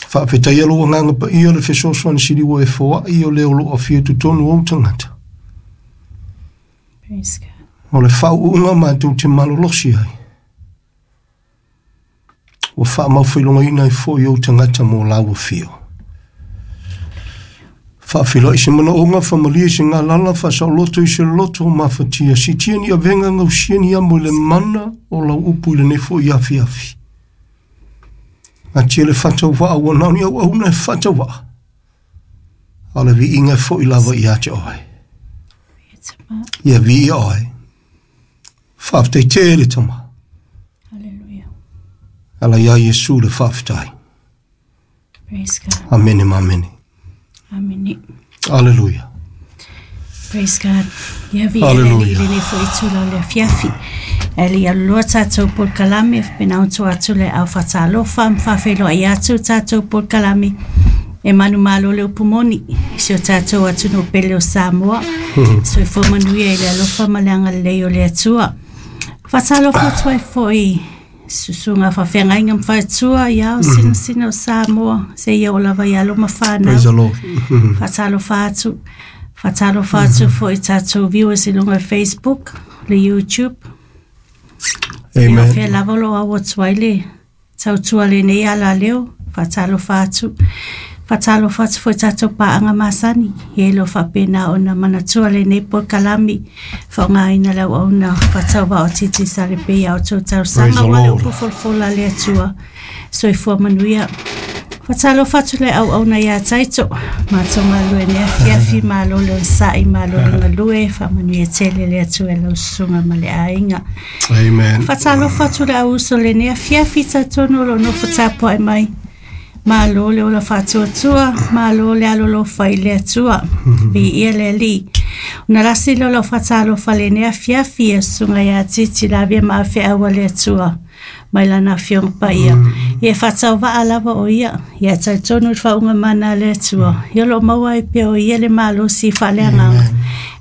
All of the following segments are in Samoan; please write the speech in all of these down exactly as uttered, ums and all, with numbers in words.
Faafetaia lou Agaga Paia le fesoasoani sili ua e foai o le o loo afio i totonu o ou tagata. Praise God. O le faauuga matou te malolosi ai. Ua faamaufailogaina ai foi ou tagata mo lau afio. Faafeiloai se manaoga, faamalie se galala, faasaoloto i se loto mafatia, siitia ni avega, gausia ni amo i le mana o lau upu i lenei foi afiafi. Atia le faatauvaa ua na o ni auauna e faatauvaa, a o le viiga e foi lava ia te oe. Ia viia oe. Faafetai tele Tama. Hallelujah. Ala ia Iesu le faafetai. Praise God. Amene ma amene. Amene. Aleluia. Praise God. Ia viia le Alii i lenei foi itula o le afiafi. E le i aluloa tatou polokalame, faapena ona tua atu le au faatalofa ma faafeiloai atu tatou polokalame e manumalo le upu moni i si o tatou atunuu pele o Samoa. Soifua manuia i le alofa ma le agalelei o le Atua. Faatalofa atu ai foi susuga faafeagaiga ma faletua i ao sinasina o Samoa, seia oo lava i alo ma fanau. Praise the Lord. Faatalofa atu. Faatalofa atu foi i tatou viewers i luga o Facebook, le YouTube. Amen. Ia fea lava o lo o au atu ai le tautua lenei alaleo. Faatalofa atu. Faatalofa atu foi i tatou paaga masani, ia e le o faapena ona manatua lenei polokalame, faaaogaina le auauna faatauvaa o Titi Salepe ia outou Praise talosaga the aua le Lord. upu folafola a le Atua. Soifua manuia. Faatalofa atu le auauna ia Taito, matou galulue nei afiafi, malo le onosai, malo le galue, faamanuia tele le Atua i lau susuga ma le aiga. Amen. Faatalofa atu le auuso lenei afiafi, talitonu o lo o nofo tapuai mai. Malo le ola faatuatua, malo le alolofa i le Atua. Viia le Alii. Ona lasi lea o lau faatalofa lenei afiafi, e susuga ia Titi Lavea ma Afeau a le Atua mai lana Afioga Paia. Ia e faatauvaa lava o ia, ia talitonu i le faauuga mana a le Atua. Ia o lo o maua ai pea o ia le malosi faaleagaga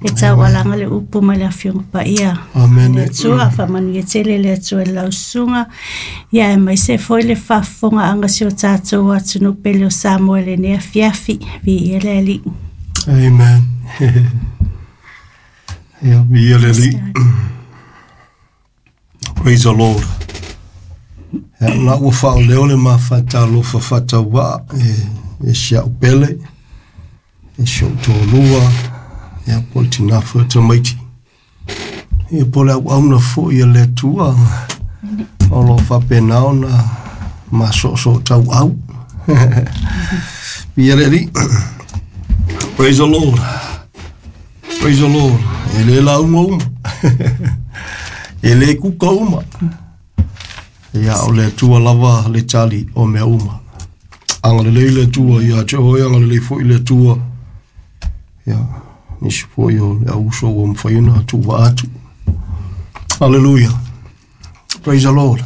e taualaga le upu mai le Afioga Paia. Amen. Le Atua, faamanuia tele le Atua i lau susuga, ia aemaise foi le faafofogaaga si o tatou atunuu pele o Samoa i lenei afiafi. Viia le Alii. Amen. Ia, viia le Alii. Praise the Lord. Ia, na ua faaoleo le mafatalofa faatauvaa e, e si au pele, e si ou toalua, ia po o le tina foi o tamaiti. Ia po o le auauna foi a le Atua o lo o faapena ona masoosoo tauau. Viia le Alii. Praise the Lord. Praise the Lord. E le lauga uma. E le kuka uma. Ia o le Atua lava le tali o mea uma. Agalelei le Atua ia te oe, agalelei foi le Atua. Ia, nisi foi o le auuso ua mafai ona tuuvaa atu. Hallelujah. Praise the Lord.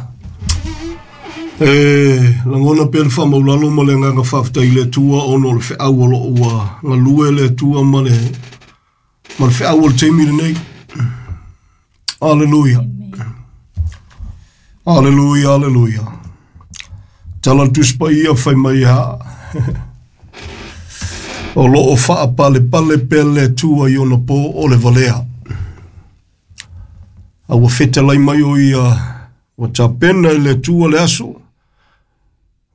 E lagona pea le faamaulalo ma le agaga faafetai i le Atua ona o le feau o loo ua galue le Atua ma le ma le feau o le taimi lenei. Hallelujah. Hallelujah, hallelujah. Tala le Tusi Paia fai mai ha. O loo faapalepale pea le Atua i ona po o le valea. A ua fetalai mai o ia ua tapena e le Atua le aso,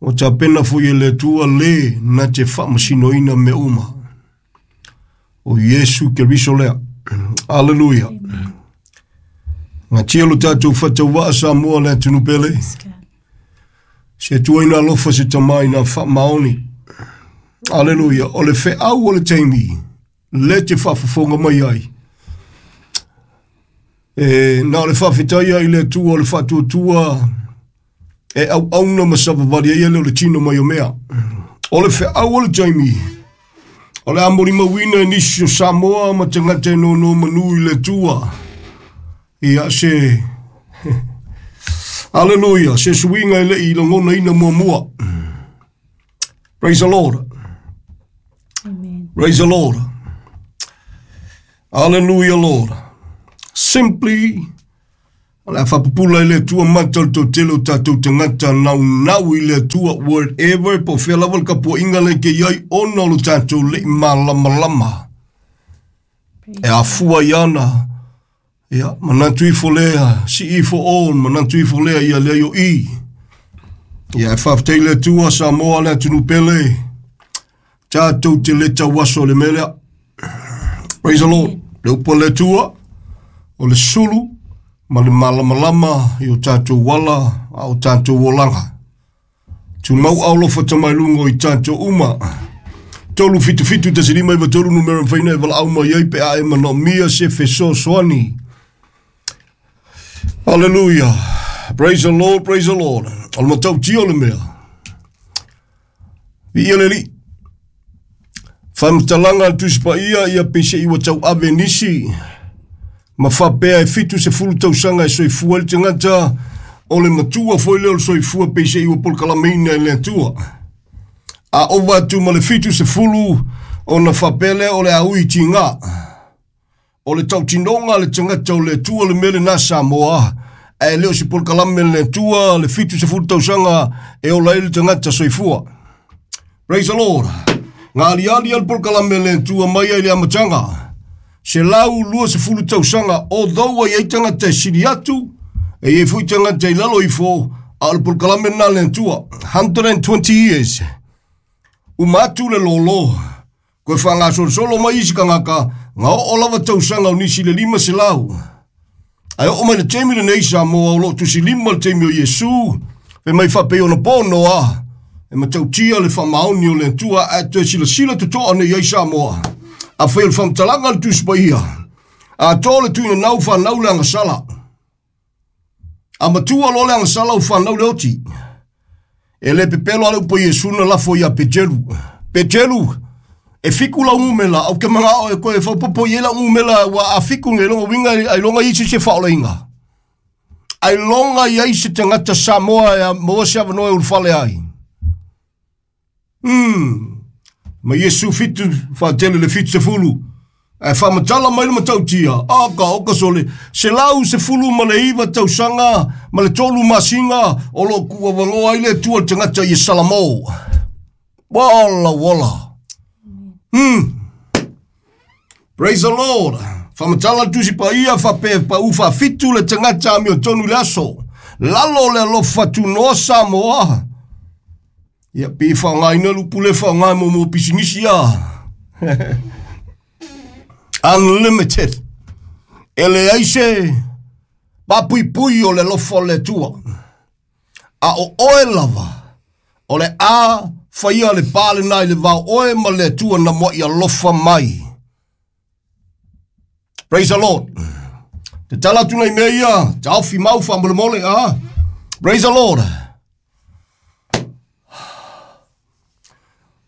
ua tapena foi e le Atua le na te faamasinoina mea uma. O Iesu Keriso lea. Aleluia. Gatia lo tatou faatauvaa Samoa le atunuu pele. Se Atua ina alofa se Tama ina faamaoni. Aleluia. O le feau o le taimi le te faafofoga mai ai. E na o le faafetai ai i le Atua o le faatuatua e auauna ma savavali ai ele o le tino mai o mea. O le feau o le taimi o le a molimauina e nisi o Samoa ma tagata e nonomanu i le Atua. Ia se Aleluia, se suiga e le i lagonaina muamua. Praise the Lord. Amen. Praise the Lord. Hallelujah, Lord. Simply O le whapupula i le Atua mata o le tautele o tātou tangata nau nau i le Atua whatever po whea lava le kapua inga le ke iai ona o lo tātou le i malamalama. E afua i ana. Ia, manatu ifo lea, si ifo on, manatu ifo lea ia lea yo i. Ia, e whawhtei le Atua Samoa le atunu pele. Tātou te le tauaso le melea. Praise the Lord. Le upo le Atua, o le sulu, ma le malamalama i o tātou wala a o tātou olanga. Tu mau au lofa tamailungo i tātou uma. Tolu fitu fitu tasi lima iwa tolu numera mwhaina e wala au mai ai pe a e mana mia se feso soani. Hallelujah. Praise the Lord, praise the Lord. O le matau tio le mea. Vi ia le li. Whamtalanga tusipa ia ia pese iwa tau ave nisi. Ma whapea e fitu se fulu tausanga e soifua le tangata o le matua foi leo le soifua pese iwa polokalameina e le Atua. A ova atu ma le fitu se fulu o na whapea lea o le aui tinga. O le tautinonga le tangata o le Atua le mele nā Samoa. E leo si polokalame le Atua le fitu se fulu tausanga e ola e le tangata soifua. Praise the Lord. Ngā aliali al polokalame le Atua mai ai le amatanga. Se lau lua se fulu tausanga o dhaua i ai tangata e siri atu, e i fui tangata i lalo ifo, a o le polokalame nā le Atua. one hundred twenty years. Uma atu le lolo. Koe wha ngā solosolo mai isi kangaka, ngā o lava tausanga o nisi le lima se lau. Ai o mai le teimi le nei Samoa o lo tusi lima le teimi o Iesu, pe mai whapei ona pono a, e matautia le whamaoni o le Atua, a toe sila sila tutoa nei ai Samoa. A whai o le whamtalanga le tusipa ia. A tō le tuina nau whanau le angasala. A matua lo le angasala o whanau le oti. E le pepelo ale upo Iesu na lafo ia Petelu. Petelu, e fiku la umela, au ke manga o e koe whaupopo i e la umela, wa a fiku nge longa winga, ai longa i se whaola inga. Ai longa i ai se tangata Samoa e a moa se awanoe ulfale ai. Hmm. Ma Iesu fitu, whaatele le fitu se fulu. E whamatala mai le matautia. Aka, oka sole. Se lau se fulu ma le iwa tausanga, ma le tolu masinga, o lo kua wangoa i le tua le tangata i Salamo. Wala, wala. Hmm. Praise the Lord. Whamatala tusi pa ia, whape pa uwha fitu le tangata ami o tonu le aso. Lalo le alofa tu noa Samoa. Ia pe whangai na lupu le whangai mo mo pisinisi ia. Unlimited. Ele aise papui pui o le lofo le tua. A o oe lava. O le a whaia le pāle nai le vau oe ma le tua na moa ia lofa mai. Praise the Lord. Te tala tu nei mea ia. Te awhi mau wha mole mole. Ah. Praise the Lord.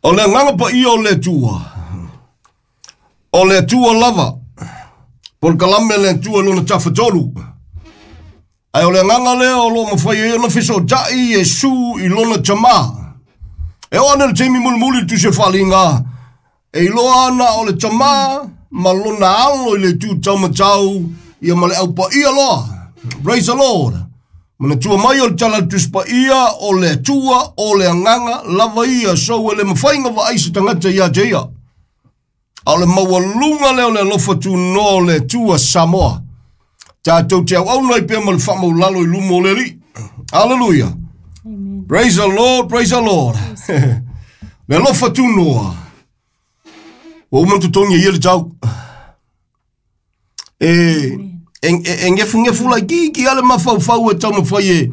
O le nganga pa ia o le tua. O le tua lava. Polokalame le tua lona tafatolu. Ai o le nganga lea o lo mawhai e ona fiso tai e su i lona tama. E o ana le teimi mulimuli tu se whalinga. E iloa ana o le tama ma lona alo i le tu taumatau ia ma le aupa ia loa. Praise the Lord. Mana tua mai o le tala tuspa ia o le tua o le anganga lava ia so e le mawhainga wa aisa tangata ia te ia. A o le maualunga leo le alofa tu noa o le tua Samoa. Tātou te au au nei pea ma le whamaulalo i lumo o le li. Hallelujah. Amen. Praise the Lord, praise the Lord. Le alofa tu noa. O umantu tongi ia le tau. E... E, e, e ngefu ngefu lai ki ki ale mawhau e tau mawhai e,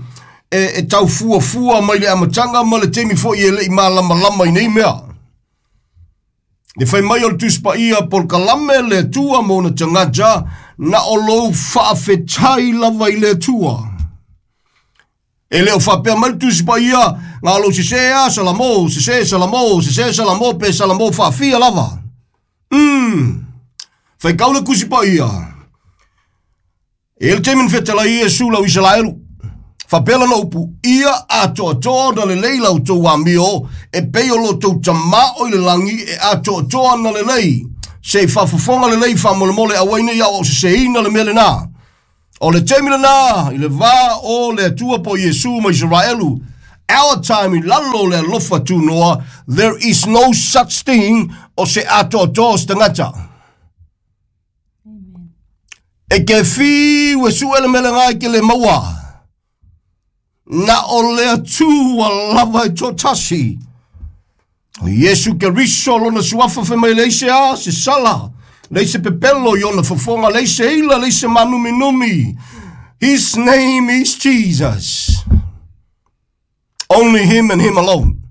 e, e tau fua fua mai le amatanga ma le temi fo i e lei malama lama i nei mea. Le whai mai o le tuspa ia polokalame le tua mona tangata na o lou whaafetai lava i le tua. E leo whapea mai le tuspa ia ngā lou sisea salamo, sise salamo, sise salamo pe salamo whaafia lava. Mm. Whai kau le kusipa ia. E le temin whetala Iesu lau Israelu. Whapela na upu, ia atoa na le lei lau tau amio, e pei o lo tau tamao i le langi e atoa na le lei. Se whafafonga le lei whamolemole a waine iau au se seina le mele nā. O le taimi lena i le va o le Atua po Iesu ma Israelu. Our time i lalo le alofa tunoa, there is no such thing o se atoatoa se tagata. E ke fiu e su ele mele ngai ke le maua. Na o le Atua lava e totasi. O Iesu Keriso lona suafa fe mai leise a se sala. Leise pepelo i ona fofonga, leise ila, leise manuminumi. His name is Jesus. Only him and him alone.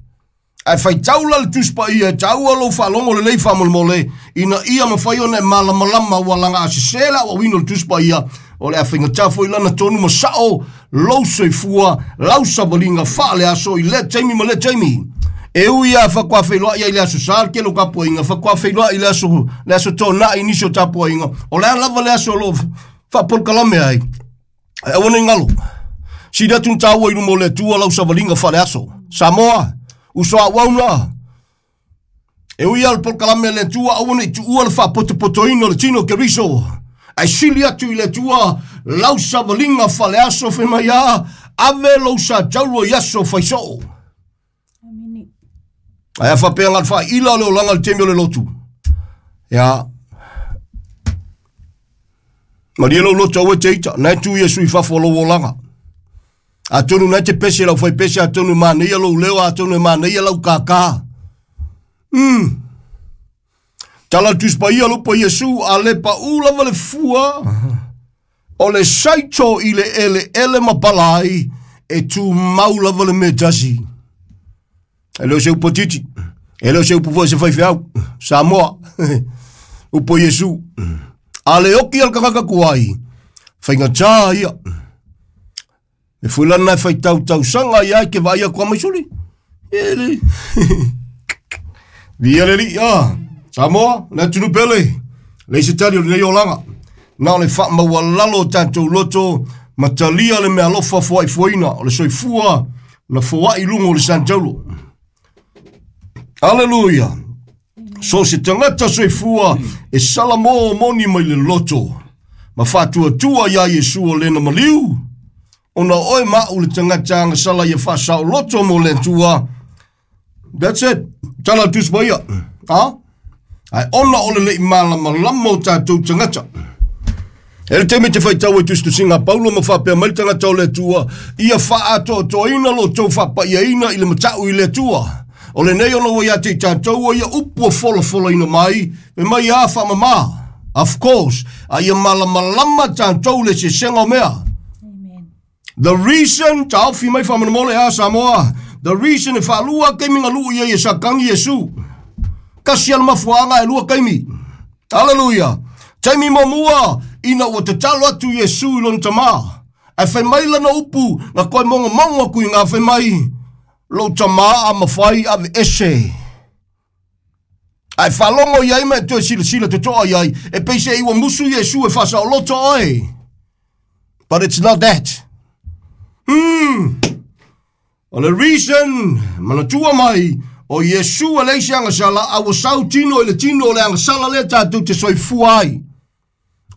Ai fai taula le tuspa ia, taua lo whalongo le lei whamolemole, ina ia mawhai ona e malamalama ua langa a sesela ua wino le tuspa ia, o le awhinga tafo i lana tonu ma sao, lau soifua, lau sawalinga whaale aso i le taimi ma le taimi. E ui a whakwa whailoa ia i le aso sal ke lo kapoinga, whakwa whailoa i le aso, le aso tōna i nisio tapoinga, o le alava le aso lo whapolkalame ai. Ai awane ngalo. Sida tun taua i lumo le tua lau sawalinga whale aso. Samoa, usoa wauna. E ui al polkalame le tua, awane i tuua le whapotopotoina le tino Keriso. Ai sili atu i le tua, lau sawalinga whale aso whemaya, ave lau sa jauro i aso whaisoo. Ai a whapea ngal wha ila le olanga le temi o le lotu. Ia. Maria lau lotu awe te ita, nai tu ia sui whafo lau olanga. A tonu nai te pese lau whai pese, a tonu māneia lau leo, a tonu māneia lau kākā. Mm. Tala tuspa ia lupa Iesu, a le pa ula le fua, o le saito i le ele ele mapalai, e tu mau lava le metasi. E leo se upo titi, e leo se upo fo se whaiwheau, Samoa, upo Iesu. A le oki al kakaka kuai, whainga tā ia. E fulana e whai tau tau sanga ia ke vaia kua maisuli. E le. Via le li, ah. Samoa, na tunu pele. Le se tali o le nei olanga. Na o le wha maua lalo tātou loto, matalia le mea alofa fua i fuaina, o le soifua, na fua i lungo o le Santaulo. Hallelujah. So se tangata soifua, e salamo moni mai le loto. Ma whātua tua ia Iesu o lena maliu. Ona oe mau le tangata anga sala ia whasao loto mo le tua. That's it. Tala tuspa ia. Ha? Ai ona ole le malama lama o tātou tangata. E le teme te whaitau e tustusinga Paulo ma whapea mai tangata o le tua. Ia whaatoatoina lo tau whapaiaina i le matau i le tua. O le nei ona ua ia te tātou ia upua fola fola ina mai. Me mai a whamama. Of course. A ia malamalama tātou le se senga o mea. The reason, ta ofi mai whamanamole a Samoa, the reason e whalua kaimi ngā luu ia ia sa kangi Yesu. Kasi ala mafuanga e lua kaimi. Hallelujah. Taimi mamua, ina ua te talo atu Yesu i lona tamā. Ai whai mai lana upu, ngā koe monga monga kui ngā whai mai, lo tamā a mawhai ave ese. Ai whalongo iai me toe sila sila te toa iai, e peise iwa musu Yesu e whasa o loto oe. But it's not that. Hmm. O le reason, manatua mai, o Iesu a leisi angasala, a ua sau tino i le tino o le angasala le tātou te soifua ai.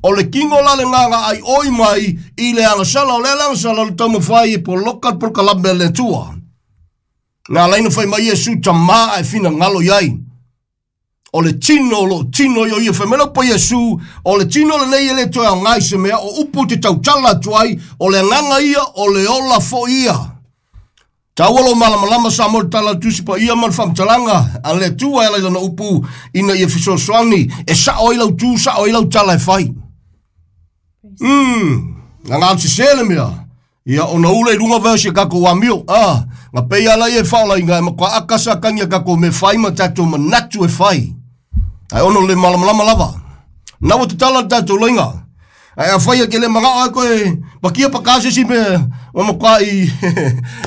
O le kingo la le nganga ai oi mai, i le angasala, o le angasala le taumawhai e poloka polokalame le tua. Ngā laina whai mai Iesu tamā ai whina ngalo iai. O le tino, lo tino i o ia whamela pa Iesu, o le tino le nei ele toe au ngai se mea, o upu te tautala atu ai, o le nganga ia, o le ola fo ia. Taua lo malamalama sa mo le tala tusi pa ia ma le whamtalanga, a le tua e lailana upu, ina ia fisosoani, e sao ai lau tu, sao ai lau tala e whai. Mm, nga ngā se sele mea. Ia ona ule i lunga veo se kako wamio. Ah, nga pei ala ia e whaola inga e makwa akasa kangia kako me whai ma tātou manatu e whai. Ai ono le malamalama lava. Nawa te tala tātou loinga. Ai a whai a ke le manga ai koe, pakia pakase si me, o makwa i,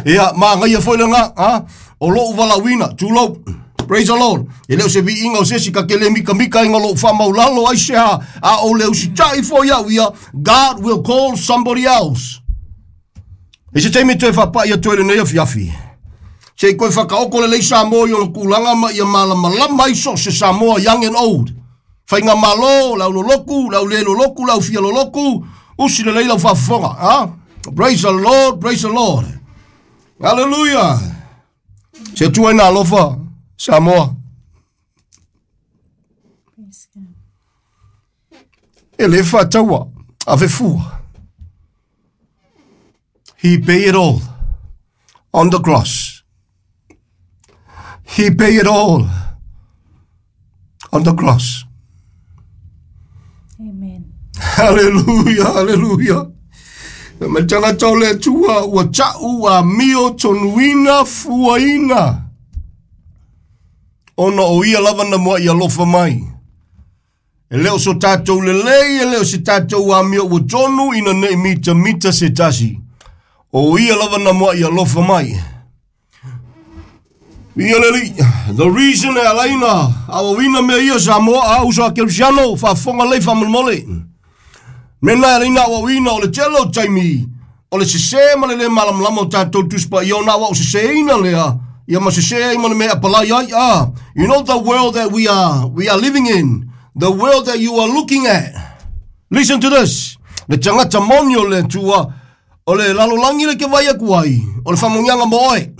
ia, maa ngai a foile ngā, ha? O lo uwala wina, tū Praise the Lord. E leo se vi inga o sesi ka ke le mika mika inga lo wha maulalo ai se ha, a o leo si tai fo iau ia, God will call somebody else. E se teime toe whapa ia toe le nei afiafi. Se koe whakaoko le lei Samoa i ona kulanga ma ia malamalama i so se Samoa young and old. Whainga malo, lau loloku, lau le loloku, lau fia loloku, Usi le leila faafofoga a. Praise the Lord, praise the Lord. Hallelujah. Se tua ina alofa Samoa. Praise God. E le faataua ave fua. He paid it all on the cross. He paid it all on the cross. Amen. Hallelujah, hallelujah. Me tangata o le Atua ua ta'u a mio tonuina fuaina. Ona o ia lava na mua i alofa mai. E leo so tātou lelei, e leo se tātou a mio ua tonu ina nei mita mita se tasi. O ia lava na mua i alofa mai. Ia leli, the reason e alaina, awawina mea ia Samoa a uso a Kerisiano, faafofoga lei faamolemole. Mena e alaina awawina o le tele o taimi, o le sesē ma le lē malamalama o tātou tusipa ia ona awa'o sesēina lea, ia ma sesē ai ma le mea apalai ai a. You know the world that we are, we are living in, the world that you are looking at. Listen to this. Le tagata moni o le Atua, o le lalolagi le ke vai aku ai, o le faamanuiaga mo oe.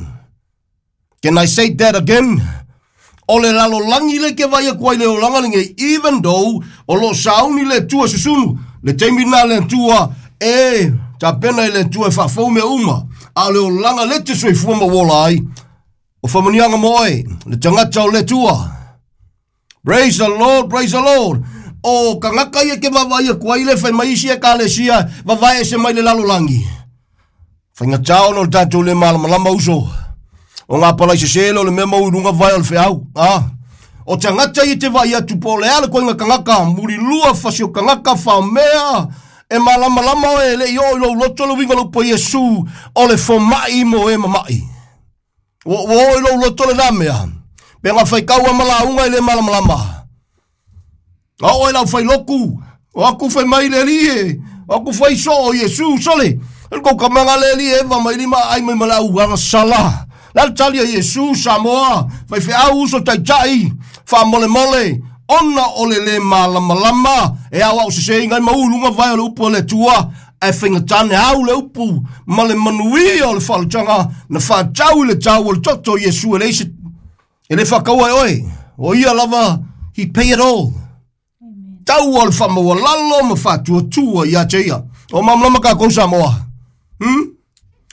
Can I say that again? O le lalolagi le ke vai aku ai le olaga lenei, even though o loo sauni le Atua susunu, le taimi lena le Atua e tapena i le Atua e faafou mea uma, a o le olaga le te soifua ma ua ola ai, o faamanuiaga mo oe, le tagata o le Atua. Praise the Lord, praise the Lord. O kangaka ia ke vavaai aku ai le fai mai isi ekalesia, vavae ese mai le lalolagi. Faigata ona o le tatou le malamalama uso. O ngā palai sesē le o le mea mau i luga vae o le feau. Ah. O tagata ia te vaai atu po o le a le koiga kagaka, mulilua fasi o kagaka faamea, e malamalama oe e le'i oo i lou loto le uiga o le upu a Iesu, o le foma'i mo e mama'i. Ua ua oo i lou loto lenā mea. Pe ga faikau a malauga i le malamalama. A oo e lau failoku, o aku fai mai le alii e, o aku fai soo o Iesu, sole. E le kou kamaga le alii e eva mai lima ai mai ma le auagasala. La le tali a Iesu, Samoa, faifeau uso taita'i, faamolemole, ona o le lē malamalama, e aoao sesēiga ai ma ulu luga vae o le upu a le Atua, ae faigatā au le upu ma le manuia o le faaletaga na faatau i le tau o le toto o Iesu e leai se e le faakaua e oe. O ia lava, he pay it all. Amen. Tau o le faamaualalo ma faatuatua ia te ia. O malamalama kākou Samoa. Hmm?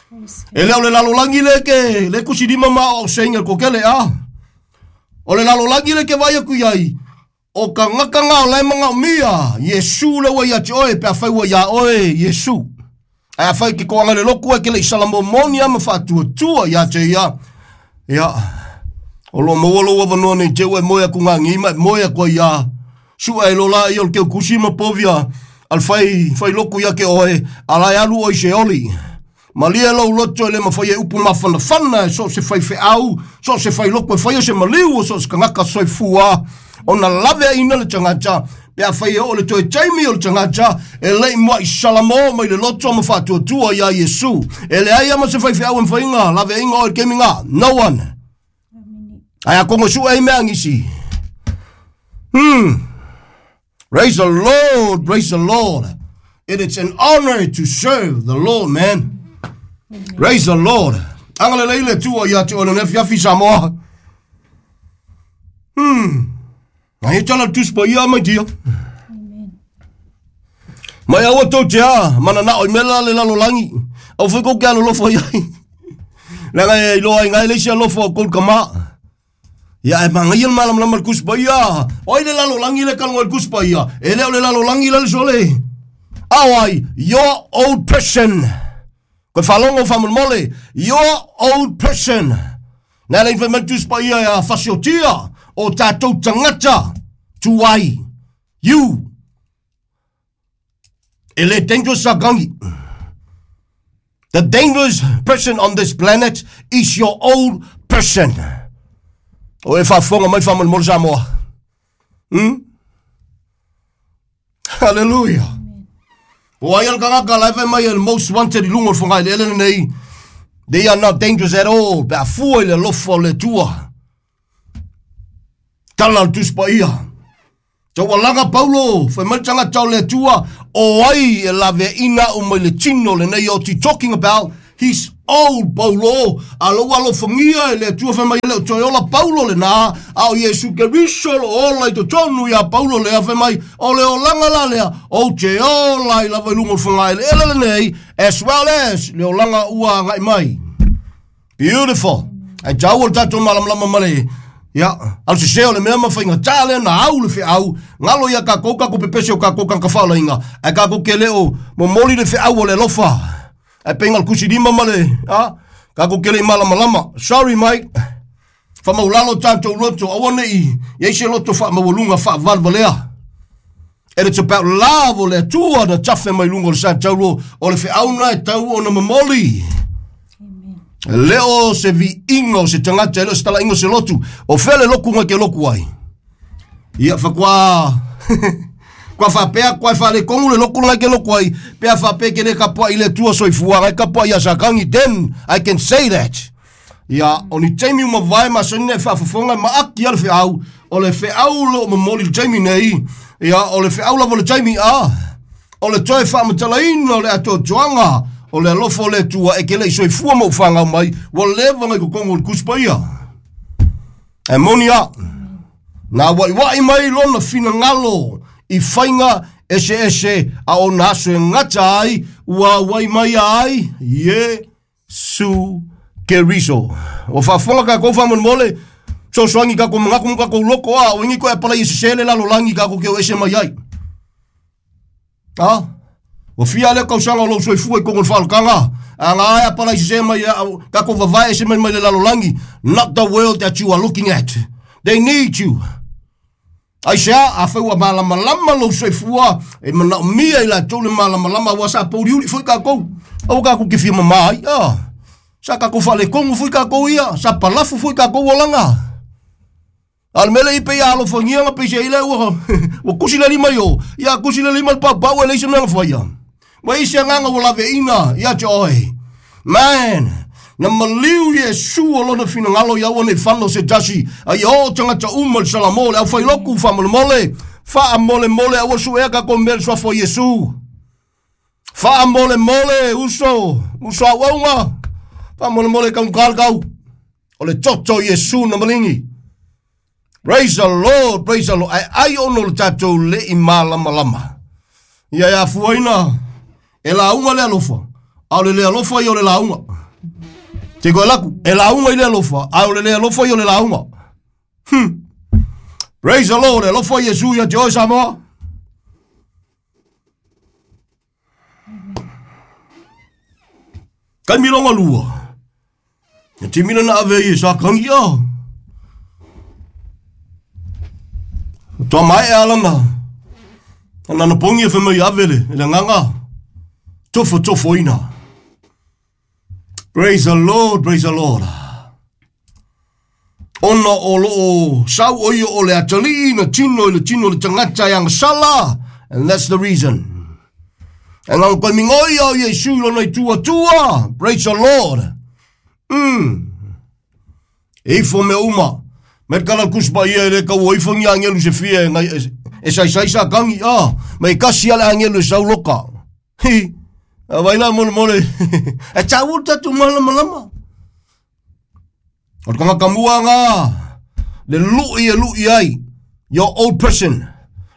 Praise E leo le lalolagi le ke le kusilima ma o seinga kokele a. O le lalolagi le ke vai aku iai. O ka ngaka ngā o lai manga o mia. Iesu le ua ia te oe, pe a whai ua ia oe, Iesu. Ai a whai ke koanga le loku e ke le isala momoni a ma faatuatua ia te ia. Ia. O lo maua lo ua nei te ua e moe aku ngā ngima, e moe aku ia. Sua e lola i o le keu kusi ma povia. Al whai, whai loku ia ke oe, ala e alu oi se oli. Malia lou loto e le mawhai e upu mawhanawhana, e so se whai wheau, so se whai loko e whai o se maliu, o so se kangaka soifua. O na lave a ina le tagata, pe a whai e o le toe taimi o le tagata, e lei mua i salamo mai le loto ma whaatuatua ia Iesu. E le ai ama se whai wheau e mwhainga, lave inga o le keminga. No one. Amen. Ai a kongo sua e mea ngisi. Hmm. Praise the Lord, praise the Lord. It is an honor to serve the Lord, man. Praise the Lord. Anga le leile tua ia te ole nefi afi Samoa. Hmm. Ngai tala tuspa ia mai tia. Amen. Mai aua tau te a, mana na oi mela le lalolangi. Au fai kou ke alo lofo iai. Leaga e iloa ai ngai le isi alofa o kou kama. Ia e mangai le malamalama le kuspa ia. Oi le lalolangi le kalongo le kuspa ia. E leo le lalolangi le le sole. Au ai, your old person. Koe whalongo whamolmole, your old person. Nā le whai tuspa ia ia fasiotia o tātou tangata tuai. You. E le dangerous sa gangi. The dangerous person on this planet is your old person. O e whaafonga mai whamolmole Samoa. Hmm? Hallelujah. O ai al kangaka lai whai mai el most wanted i lunga o le whangai le ele nei. They are not dangerous at all. Pe a fua i le lofa o le Atua. Tala le tuspa ia. Tau alaga Paulo, whai mai tangata o le Atua, O ai e laveaina a'u mai le tino lenei oti, talking about his old Paulo, a lou alofagia e le Atua fai mai e le o toe ola Paulo lenā, a o Iesu Keriso lo ola i totonu iā Paulo lea fai mai, o le olaga la lea, ou te ola ai lava i luga o le fagaeleele lenei, as well as le olaga ua agaʻi mai. Beautiful. Ae taua le tatou malamalama ma le ia, alu sesē o le mea ma faigatā lea na au le feʻau, galo ia kakou kakou pepese o kakou tagata ae kakou ke le o momoli le feʻau o le alofa. Ae peiga le kusi lima ma le, a, kakou ke le i malamalama. Sorry, mate. Faamaulalo tatou loto, aua neʻi iai se loto faamaualuga faavalevalea. And it's about love o le Atua na tafe mai luga o le sa taulo o le feʻau na e tau ona momoli. Le o se viiga o se tagata e le o se talaiga o se lotu. O fea le loku ga ke loku ai. Ia faatoa kua faapea kua e faaletonu le loku lega ke loku ai. Pe a faapea ke le kapuaʻi le Atua soifua gai kapuaʻi ia sakagi. Then I can say that. Ia o ni taimi uma vae masani e faafofoga e maaki a le feʻau. O le feʻau lo o momoli le taimi nei. Ia o le feʻau lava o le taimi a. O le toe faamatalaina o le atoatoaga o le alofa o le Atua e ke leʻi soifua ma ou fagau mai ua leva ngai kokogo o le Tusi Paia. E moni a. Na uaʻiuaʻi mai lona finagalo i faiga eseese a ona aso e gata ai ua auai mai ai Iesu Keriso. Ua faafofoga kakou faamolemole sosoagi kakou magaku ma kakou loko a o igi koe apalai e sesē le lalolagi kakou ke o ese mai ai. A? Ua fia lea kausaga o lou soifua i kogo le faalakaga. A ga ae apalai sesē mai kakou vavae ese mai mai le lalolagi. Not the world that you are looking at. They need you. Ai se a, a fai ua malamalama lou soifua, e manaomia i latou le malamalama ua sa pouliuli foi kakou. Aua kakou ke fia mamā ai. Ah. Sa kakou faaletonu foi kakou ia. Sa palafu foi kakou olaga. A le mele i pe ia alofagia na peisa ile ua ua kusi le lima i o. Ia kusi le lima le paupau e leai se mea na faia. Ma isi agaga ua laveaina ia te oe. Man, na maliu Iesu o lona finagalo ia ua nei fano se tasi. A ia o tagata uma le Salamo le aufailoku faamolemole. Faamolemole aua suea kakou mea le suafa o Iesu. Faamolemole uso, uso auauga. Faamolemole kaugā le kau. O le toto Iesu na maligi. Praise the Lord, praise the Lord. Ae ai ono le tatou leʻi malamalama. Ia e afuaina e lauga le alofa. A o le le alofa ia o le lauga. Te koe laku, e lauga i le alofa, a o le le alofa ia o le lauga. Hmm. Praise the Lord, e alofa Iesu ia te oe Samoa. Kai milonga lua. Ia timina na ave i e sa kangi a. Toa mai e alana. Ana na pongi e whamai avele, e le nganga. Tofo tofo ina. Praise the Lord, praise the Lord. Ona o loo sau o ia o le atalii na tino i le tino le tagata e agasala. And that's the reason. E ngau koe mingoi au Iesu i lona i tua tua. Praise the Lord. Mm. E ifo mea uma. Me kala kuspa ia e le kau o ifo ngi angelu se fia e ngai e sai sai sa kangi a. Me kasi ale angelu e sau loka. Hi. A vai la mole mole. E tau tatu malamalama. O le tagata mua ngā. Le lui e lui ai. Your old person.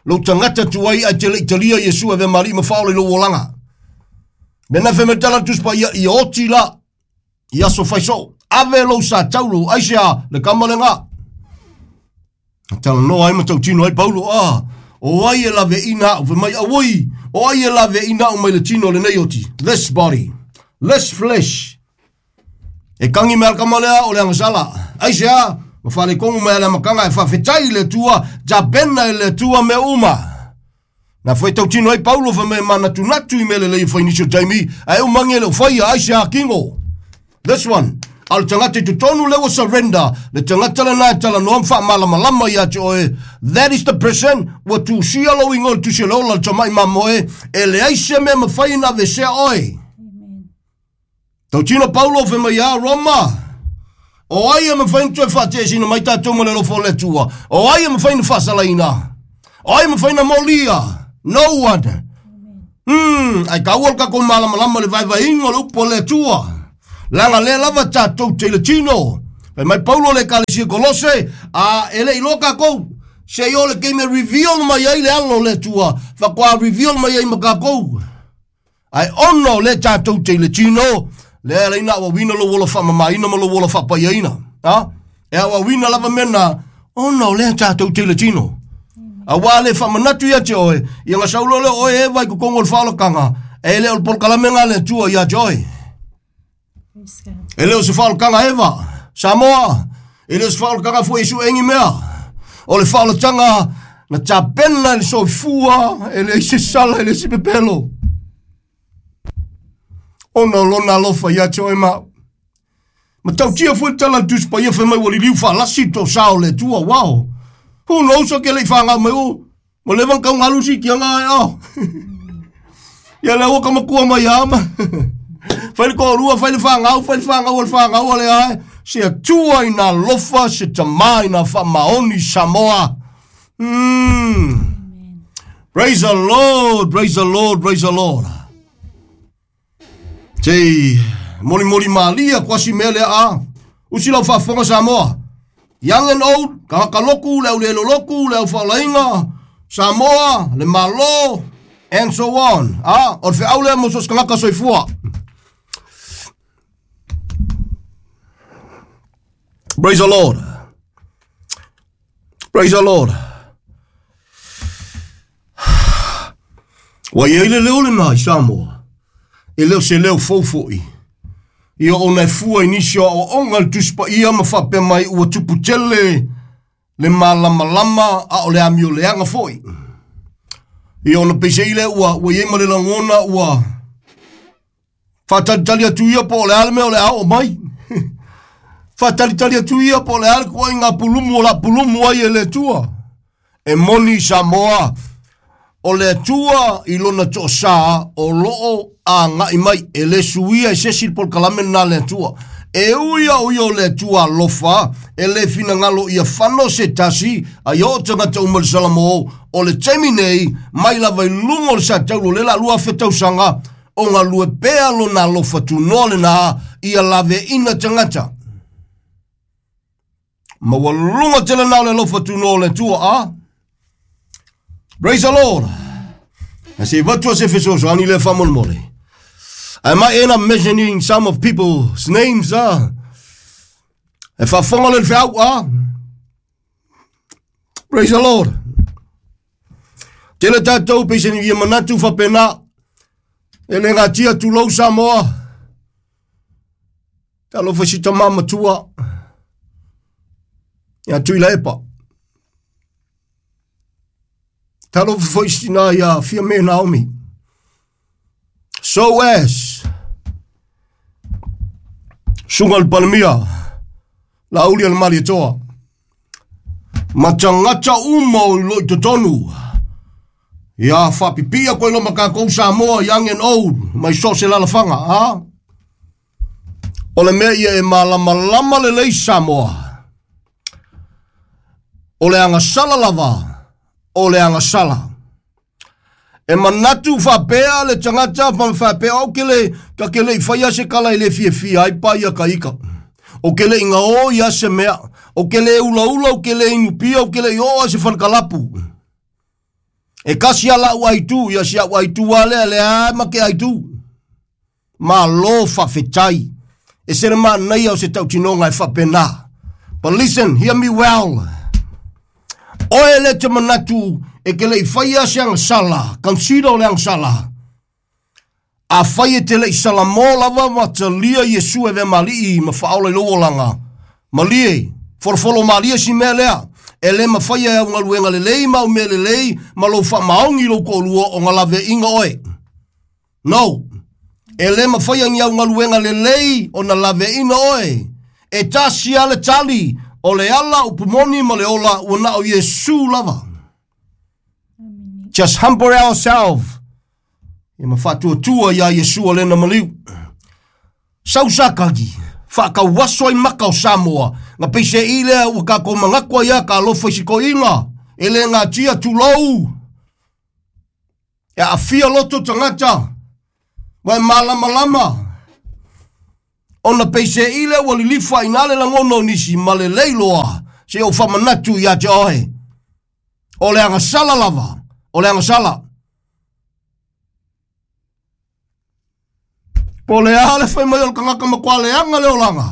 Lou tagata tuai ai te le italia Iesu e ve mari ma whaole lou olaga. Me na fe me tala tuspa ia i oti la. I aso faiso. Ave lou sa taulo. Ai se a le kama le ngā. Tala no ai ma tautino ai Paulo a. O ai e lave ina au mai awoi. O ai e lave ina au mai le tino le nei oti. This body. This flesh. E kangi me alkama lea o le angasala. Ai se a. Ma whale kongu me ale makanga e whawhetai le tua. Jabena e le tua me uma. Na whai tautino ai Paulo wha me manatunatu i mele lei whainisio taimi. Ai umangi le whaia ai se a kingo. This one. A le tagata i totonu le ua surrender. Le tagata le nai tala noa mwha malamalama ia te oe. That is the person. Ua tusia lo ingo le tusia lola le tamai mamoe. E le aise mea mawhai na vesea oe. Tautino Paulo wha mai a Roma. O ai e mawhai na toe whaatesina mai tātou ma le lofo le tua. O ai e mawhai na whaasalaina. O ai e mawhai na molia. No one. Hmm, ai ka ua ka ko malamalama le vaivaiga o le upu a le Atua. Laga lea lava tatou te i le tino. Fai mai Paulo le ekalesia Kolose, a e le iloa kakou. Se i o le keime reveal mai ai le alo o le Atua, faatoa reveal mai ai ma kakou. Ai ona o le tatou te i le tino, lea laina auauina lou ola faamamaina ma lou ola faapaiaina. A? E auauina lava mea ona o lea tatou te i le tino. Auā le faamanatu ia te oe, ia gasau loa lea o oe e Eva i totonu o le faaolataga, e le o le polokalame le Atua ia te oe. Praise God. E le o se faaolataga Eva, Samoa, e le o se faaolataga foi i suegi mea. O le faaolataga na tapena i le soifua, e leai se sala, e leai se pepelo. Ona o lona alofa ia te oe ma au. Matautia foi le tala a le Tusi Paia fai mai ua liliu faalasi toasā o le Atua, wow. Who knows o ke le i whangau mai o. Ma leva na kaugalu si kia ngā e ao. Ia le ua ka makua mai ama. Fai le ko'olua, fai le fagau, fai le fagau o le fagau a le ae. Se Atua i nā alofa, se tamā i nā faamaoni Samoa. Mm. Praise the Lord, praise the Lord, praise the Lord. Te molimoli malia kuasi mea lea a. Usi lau faafofoga Samoa. Young and old, tagata loku, le au le loloku, le au faolaina, Samoa, le Malo, and so on. Ah, o le feau lea mo so se tagata soifua. Praise the Lord. Praise the Lord. Ua i ai le leo lenā i Samoa. E le o se leo fou fo'i. Ia ona e fua i nisi o aoaoga i le Tusi Paia ma faapea mai ua tupu tele le malamalama a o le amioleaga fo'i. Ia ona peiseai lea ua, ua i ai ma le lagona ua faatalitali atu ia po o le a le mea o le a oo mai. Faatalitali atu ia po o le a le ituaiga pulumu o le a pulumu ai e le Atua. E moni Samoa, o le Atua i lona toasā o loo agai mai, e le suia e se isi le polokalame lenā a le Atua. E ui a o ia o le Atua alofa, e le finagalo ia fano se tasi, a ia oo tagata uma i le Salamo, o le taimi nei, mai lava i luga o le sataulo o le la lua afe tausaga, o galue pea lona alofa tunoa lenā, ia laveaina tagata. Maualuga tele na o le alofa tunoa o le Atua, a? Praise the Lord. A se avatu se fesoasoani lea faamolemole. I might end up mentioning some of people's names, ah. E faafofoga le feau, ah. Praise the Lord. Tele tatou peiseni ia manatu faapena. E le gatia tulou Samoa. Talofa si tamā matua. Ia Tuilaepa. Talofa foi si tinā ia Fiame Naomi. So as Suga le Palemia, Laauli a le Malietoa, ma tagata uma o i loo i totonu. Ia faapipii koe lo ma kakou Samoa, young and old, mai so o se alaalafaga, a? O le mea ia e malamalama lelei Samoa. O le agasala lava, o le agasala. E manatu faapea le tagata ma faapea au ke le ka ke le i faia se kala e le fiafia ai pa ia ka ika. O ke le inga o ia se mea, o ke le ulaula, o ke le inupia, o ke le i oo a se falekalapu. E kasi a lau aitu, ia si au aitu a lea, lea ai ma ke aitu. Malo faafetai. E se le manaia o se tautinoga e faapena. But listen, hear me well. Oe le te manatu e ke le i faia se agasala, consider o le agasala. Afai e te le i salamo lava ma talia Iesu e avea ma alii ma faaola i lou olaga. Malie, folofolo malie si mea lea. E le mafai e au galuega lelei ma au mea lelei ma lou faamaoni i lou toalua o na laveaiga oe. No. E le mafai ni au galuega lelei o na laveaiga oe. E tasi lava le tali o le ala upu moni ma le ola ua na o Iesu lava. Just humble ourselves. Ia ma faatuatua iā Iesu o lena maliu. Sau sakagi, faakauaso ai maka o Samoa, na peiseai lea ua kakou manatu ai a ka alofa i si toeaina, e le gatia tulou. E aafia loto tagata ua e malamalama ona peiseʻi lea ua lilifa aʻinā le lagona o nisi ma lelei loa se ou faamanatu iā te oe o le agasala lava o le agasala po le a le fai mai o le tagata makualeaga le olaga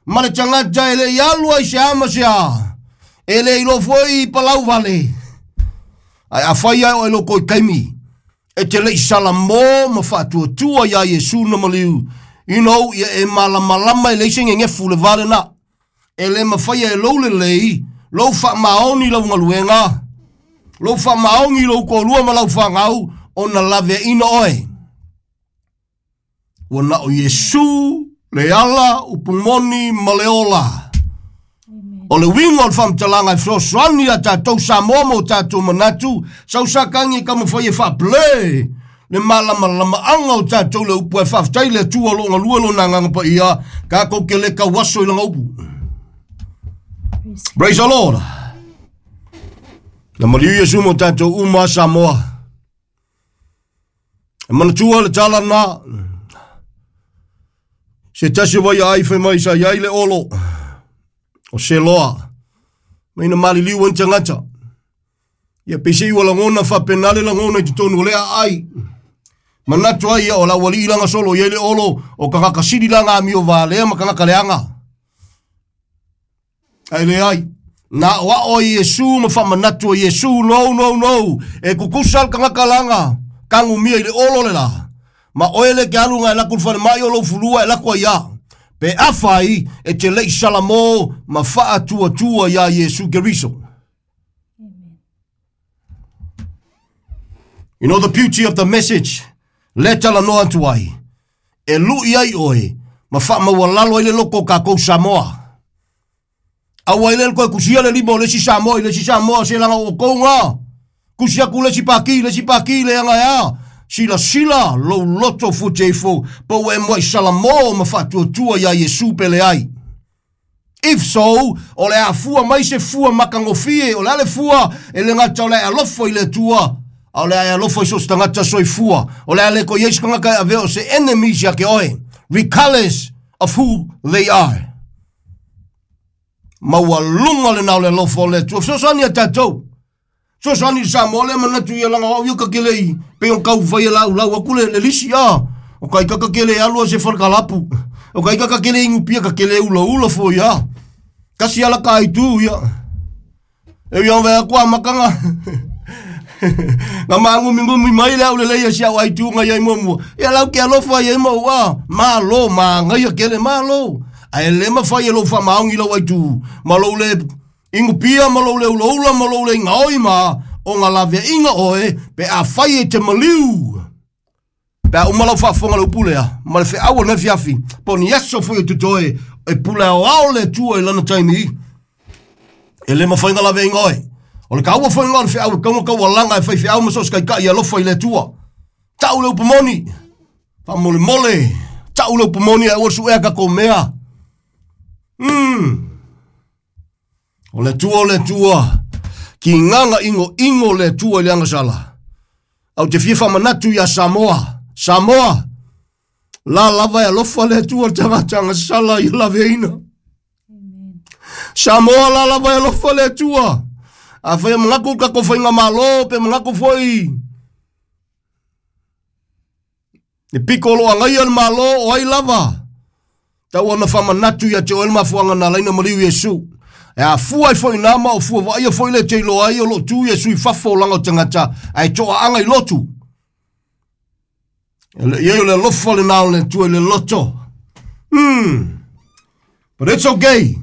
ma le tagata e leʻi alu ai se ama se a e le iloa foi palau vale ae afai ae o e loko i taimi e te leʻi salamō ma faatuatua iā Iesu na maliu you know ia e malamalama e leai se gegefu le va lenā e lē mafaia e lou lelei lou faamaoni lau galuega lou faamaogi lou toalua ma lau fagau ona laveaʻina oe ua na o Iesu le ala upumoni ma le ola o le uiga o le faamatalaga e fesoasoani ia tatou Samoa ma o tatou manatu sausakagi e taumafai e faapale le malamalamaaga o tatou le upu e faafetai le Atua o loo galue lona agaga paia tatou ke le tauaso i laga upu. Praise the Lord. Na maliu Iesu mo tatou uma Samoa. E manatua le tala na se tasi vai ai fai mai sa iai le olo o se loa mai na maliliu ai tagata ia pese ua lagona faapena le lagona i totonu o lea ai manatu ai ia o lau alii laga solo iai le olo o tagata sili laga amio valea ma tagata leaga ae leai na o ao ai Iesu ma faamanatu ai Iesu no no no e kukusa le tagata laga kagumia i le olo le la ma oe le ke aluga e laku le falemai o lou fulua e laku ai ia pe afai e te leʻi salamō ma faatuatua iā Iesu Keriso. You know the beauty of the message le talanoa atu ai e luʻi ai oe ma faamaualalo ai le loko o kakou Samoa aua i le koe kusia le lima o le isi Samoa i le isi Samoa se laga outou kusi aku le isi paki le isi paki le aga ea silasila lou loto futeifo pa ua e moaʻi salamō ma faatuatua iā Iesu pele ai. If so, o le afua mai se fua makagofie o le a le fua e le gata o le alofa i le Atua a o le ae alofa i so o se tagata soifua o le a le koe iai se tagata e avea o se enemies ia ke oe regardless of who they are. Maualuga lenā o le alofa o le Atua fesoasoani ia tatou fesoasoani i le Samoa lea manatu ia laga o au ia kakele i pei ona taufai e laulau atu le, le lisi a o ka ika kakele e alu a se falekalapu o ka ika kakele inupia kakele ulaula foi a kasi ala ka aitu ia e ia vea kua makanga nga magumigumi mai le au lelei e si au aituga iai muamua ia lau ke alofa iai mau a malo magaia kele malo ae lē mafai e lou faamaogi lau aitu ma lou le ingupia ma lou le ulaula ma lou le igaoi ma o ga laveaʻiga oe pe afai e te maliu pe a uma lau faafofoga le upu lea ma le feʻau o lena fiafi po o ni aso foi o totoe e pule aoao le Atua i lana taimi e lē mafai ga laveaʻiga oe o le kaua foi ga o le feʻau e kauga kaualaga e faifeʻau ma so o se kaikaʻi alofa i le Atua taʻu le upu moni faamolemole taʻu le upu moni ae ua le suʻea takou mea mm. O le Atua o le Atua kigaga igoigo le Atua i le agasala au te fia faamanatu iā Samoa Samoa la lava e alofa le Atua le tagata agasala ia laveaina Samoa la lava e alofa le Atua afai e manatu le tatou faigamālō pe manatu foi le piko o loo agaia le mālō o ai lava tau ona faamanatu ia te oe le mafuaga na alaina maliu Iesu e afua ai foi nā ma o fua vaaia foi le te iloa ai o loo tu Iesu i fafo o laga o tagata ae toaaga i lotu e le iai o le alofa lenā o le Atua i le loto hmm. But it's okay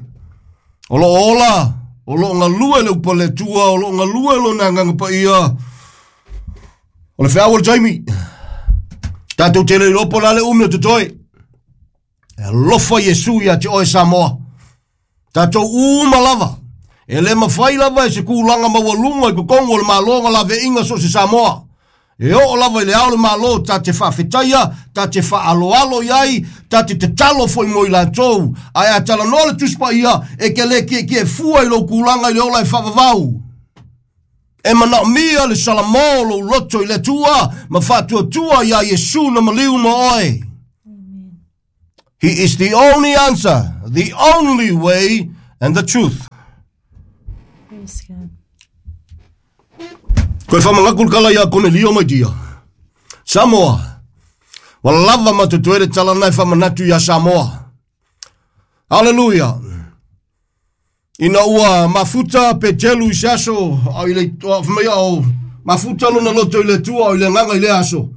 o loo ola o loo galue le upu a le Atua o loo galue lona agaga paia o le feau o le taimi tatou te le iloa po o le a le umi o totoe e alofa Iesu ia te oe Samoa tatou uma lava e lē mafai lava e se kulaga maualuga i totonu o le mālō ga laveaiga so o se Samoa e oo lava i le ao le mālō ta te faafetaia ta te faaaloalo iai ta te tatalo foi mo i latou ae a talanoa le Tusi Paia e ke lē kiekie fua i lou kulaga i le ola e faavavau E mana mia le salamo lo loto i le tua, ma fatua tua ia Yesu na maliu ma oe. He is the only answer, the only way, and the truth. Praise God. Koe whamangakul kala ia Konelio mai dia. Samoa. Walava matutuere talanai whamanatu ia Samoa. Hallelujah. Ina ua mafuta petelu i se aso, au i le whamea o mafuta lona loto i le tua, au i le nganga i le aso.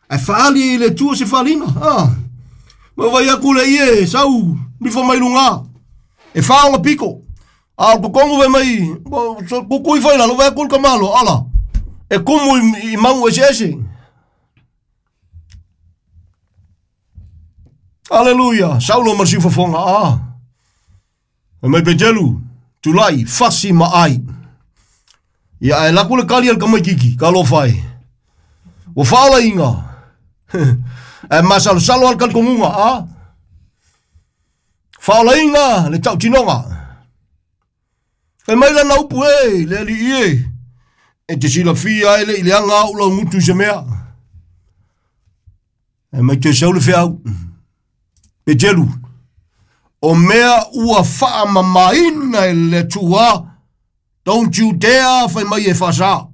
Ai whaali i le tua se whalina. Ah. Ma vai aku le ie, sau, nifo mai lunga. E whaonga piko. A kokongu ve mai, kukui whai lalo, vai aku kamalo, ala. E kumu i, i mangu ese ese. Hallelujah. Saulo masiu fafonga, ah. E mai petelu, tulai, fasi ma ai. Ia ai laku le kali al kamai kiki, ka lo whai. O whaola inga. E masalo salo al kalkongunga, ah. Whaola inga, le tau tinonga. E mai la naupu e, le ali ie. E te sila fia ele i le anga au lau ngutu se mea. E mai te sau le whiau. Petelu. O mea ua whaamamaina e le tua. Don't you dare whai mai e whasa.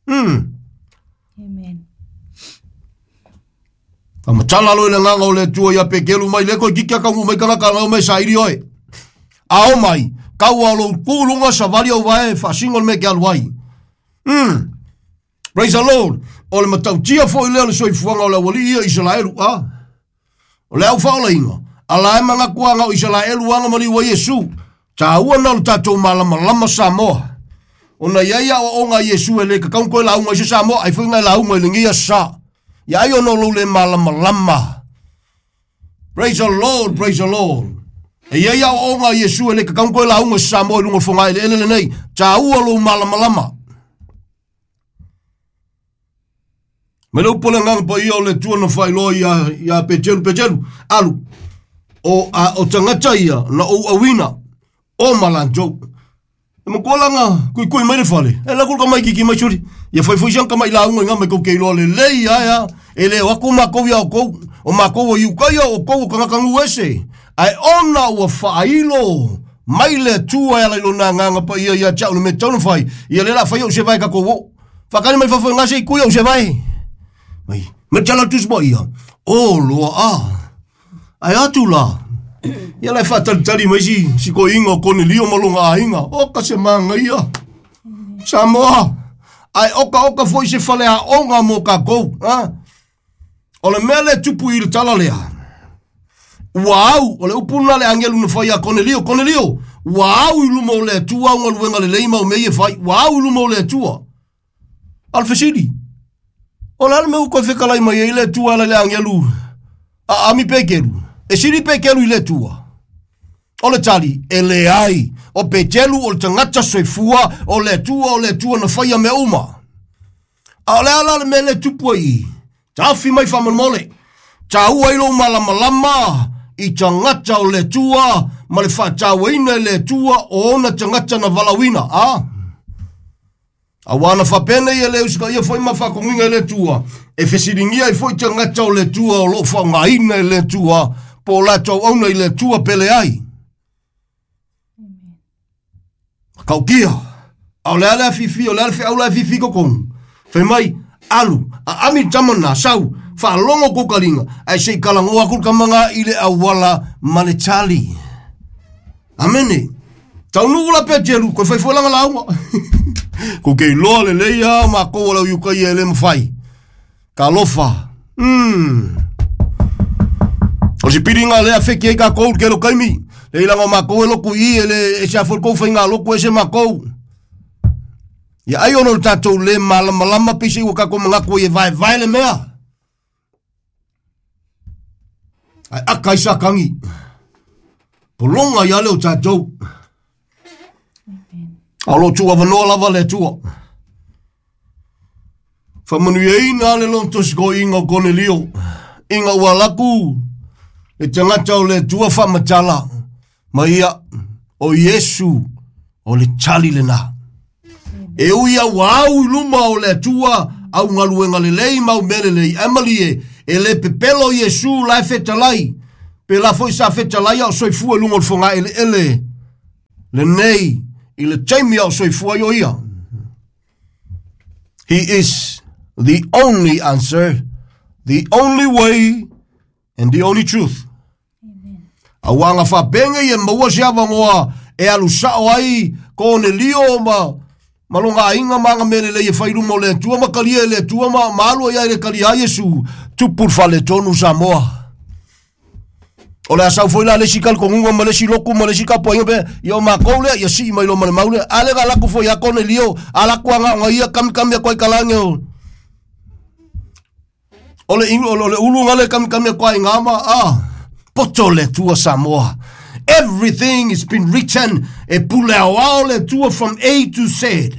Hmm. Amen. Whamatala lo i le nganga o le tua ia pekelu mai le koe kiki akangu mai kanaka ngau mai sairi oe. Ao mai, kau alo kulunga savali au vae whasingo le me ke aluai. Hmm. Praise the Lord. O le matautia fo i lea le soifuanga o le awali ia Israelu. Ah. O le au whaola inga. Ala e manga kuanga o Israelu anga mali wa Yesu. Ta ua na lo tātou malama lama Samoa. O na ia o onga Yesu e le kakaun koe la unga i se Samoa. Ai whainga la unga i le ngia sa. Ia ai ono lo le malama lama. Praise the Lord, praise the Lord. E ia ia o onga Yesu e le kakaun koe la unga i se Samoa i lunga whonga i le ele nei. Ta ua lo malama lama. Me le upole nganga pa ia o le tua na whailoa ia, ia Petelu, Petelu. Alu. O, a, o tangata ia na o awina. O malantou. E makualanga kui kui mai le fale. E la kulka mai kiki mai suri. Ia fai fai siang ka mai launga nga mai kou keiloa le lei aia. E le wako makou ia o kou. O makou o iukaia o kou o kangakangu ese. Ai ona ua whailo. Mai le tua e lai na nganga pa ia ia chau le me tauna whai. Ia le la whai o se vai kako wo. Whakani mai whawhai ngase i kui o se vai. Mai, me tala tusmo ia. O loa a. Ai atu la. Ia lai whātalitali mai si, si ko inga o Konelio malonga a inga. O ka se manga ia. Samoa. Ai oka oka foi se fale a onga mo ka kou. Ha? O le mea le tupu i le tala lea. Ua au, o le upuna le angelu na whai a Konelio. Konelio, ua au i luma o le atua unga luenga le leima o mei e whai. Ua au i luma o le atua. Alfesili. O le ale me uko whekalai mai e le atua le angelu. A ami pekelu. E siri pekelu i le atua. O le tali, e le ai. O petelu, o le tangata soifua, o le atua, o le atua na whaia me uma. A o le ala le me le tupua i. Tawhi mai whamanmole. Ta ua ilo malamalama i tangata o le atua, ma le whaatauaina le atua o ona tangata na valawina. Ah? A wana whapene ia le usika ia whai mawhakonginga i le atua. E whesiringia i fwoi tangata o le atua o lo whaungaina i le atua, po lātou auna i le atua pele ai. Kaukia. A o le ale a fifi, o le ale whiau la fifi kokong. Whai mai, alu, a ami tamana, sau, whaalongo kokaringa, ai sei kalangoa kulkamanga i le awala ma le tali. Amene. Taunu ula petelu, koe whai whaelanga launga. Ko kei loa le leia, ma kou lau yukai e le mwhai. Ka lofa. Mm. O si piringa lea wheki e ka kou ke lo kaimi. Le ilanga o makou e loku i e le e se afol kou whainga loku e se makou. Ia ai ono tātou le malamalama pise ua kako mangako i e vai vai le mea. Ai aka i sakangi. Polonga ia leo tātou. Alo tua vanoa lava le tua. Whamanui e ina le lontos ko inga o Konelio. Inga ua laku. E tangata o le tua whamatala. Ma ia o Yesu o le tali le na. E ui au au i luma o le Atua au galuega lelei ma au mea lelei Emily e e le pepelo Iesu la e fetalai pe la foi sa fetalai ao soifua i luga o le fogaeleele lenei i le taimi ao soifua ai o ia. He is the only answer, the only way, and the only truth. Auaga faapega ia maua se avanoa e alu sao ai Konelio ma ma loga aiga ma aga mea lelei e fai luma o le Atua ma kalia e le Atua ma ma alu ai ai le kalia ai Iesu tupu le faletonu Samoa. O le asau foi la le isi talitonuga ma le isi lotu ma le isi tapuaiga pe ia o makou lea ia sii mai loa ma le mau lea. A lea laku foi ia Konelio a laku agaoga ia kamikami atu ai kalage o o le o le ulu le kamikami atu ai gama a poto le Atua Samoa. Everything has been written e pule aoao le Atua from A to Z.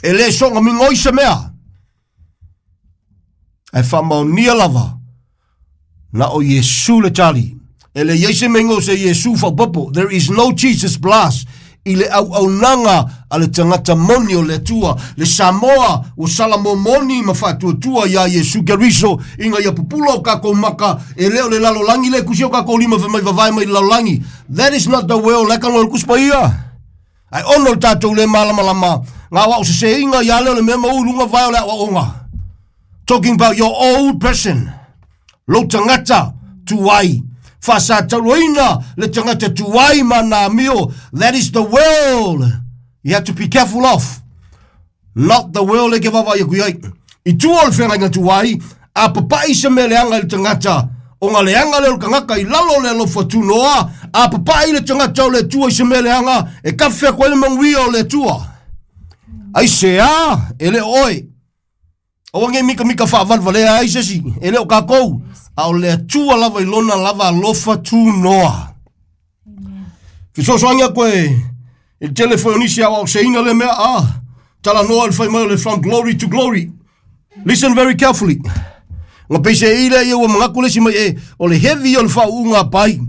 E le soga migoi se mea. Ae faamaonia lava na o Iesu le tali. E le iai se mea se Iesu faaopoopo. There is no Jesus plus i le auaunaga a le tagata moni o le Atua. Le Samoa ua salamomoni ma faatuatua iā Iesu Keriso ina ia pupula o kakou maka e le o le lalolagi le kusi o kakou lima femai vavae mai le lalolagi. That is not the will le kanoa o le Tusi Paia. Ae ono le tatou le malamalama ga o aosesēiga iā lea o le mea ma ui luga vae o le aoaoga. Talking about your old person. Lou tagata tuai. Faasatauloina le tagata tuai ma na amio. That is the world you have to be careful of. Not the world e ke vavaai aku iai. I tua o le feagaiga tuai, a papa'i se mea leaga i le tagata. O ga leaga lea o le tagata i lalo o le alofa tunoa, a papa'i le tagata o le Atua i se mea leaga, e kafe atu ai le manuia o le Atua. Ai se a, e le o oe. Aua nei mikamika faavalevalea ai se isi, e le o kakou. A o le Atua lava i lona lava alofa tunoa. Fesoasoani atu e i le tele foi o nisi aoaoseina le mea a talanoa i le fai mai o le from glory to glory. Listen very carefully. Ga peiseai lea ia ua manatu le isi mai e o le heavy o le faauuga a pai.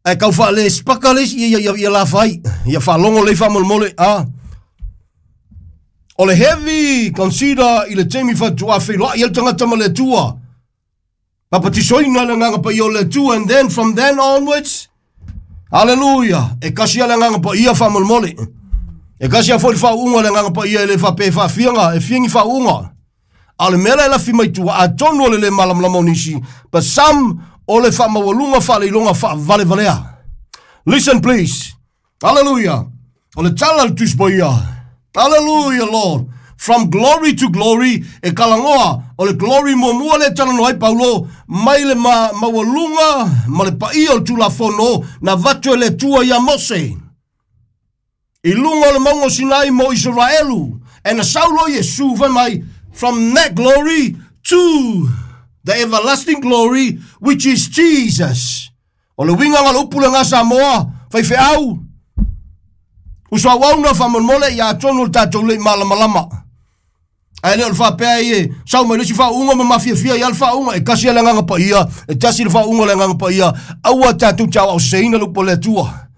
Ae tau faale spaka le isi ia ia ia la fai. Ia faalogo lelei faamolemole a. O le heavy consider i le taimi faatoa feiloai ai le tagata ma le Atua. Papatisoina le Agaga Paia o le Atua and then from then onwards, hallelujah, e kasi lava le Agaga Paia faamolemole. E kasi lava foi le faauuga o le Agaga Paia e le faapea e faafiaga, e fia ni faauuga. A o le mea la e lafi mai tua, atonu o le le malamalama o nisi, but some o le faamaualuga faaleiloga faavalevalea. Listen please. Hallelujah. O le tala a le Tusi Paia. Hallelujah, Lord. From glory to glory, e kalagoa o le glory muamua lea e talanoa ai Paulo, mai le ma, maualuga ma le paia o le Tulafono na avatu e le Atua iā Mose. I luga o le mauga o Sinai mo Isaraelu, and na sau loa Iesu fai mai, from that glory to the everlasting glory, which is Jesus. O le uiga o le upu lena Samoa, faifeau, uso auauna faamolemole ia atonu o le tatou le i malamalama. Ae le o le faapea ai e sau mai le isi faauuga ma mafiafia ai le faauuga, e kasi lava le Agaga Paia, e tasi le faauuga o le Agaga Paia, aua tatou te aoaoseseina le upu a le Atua.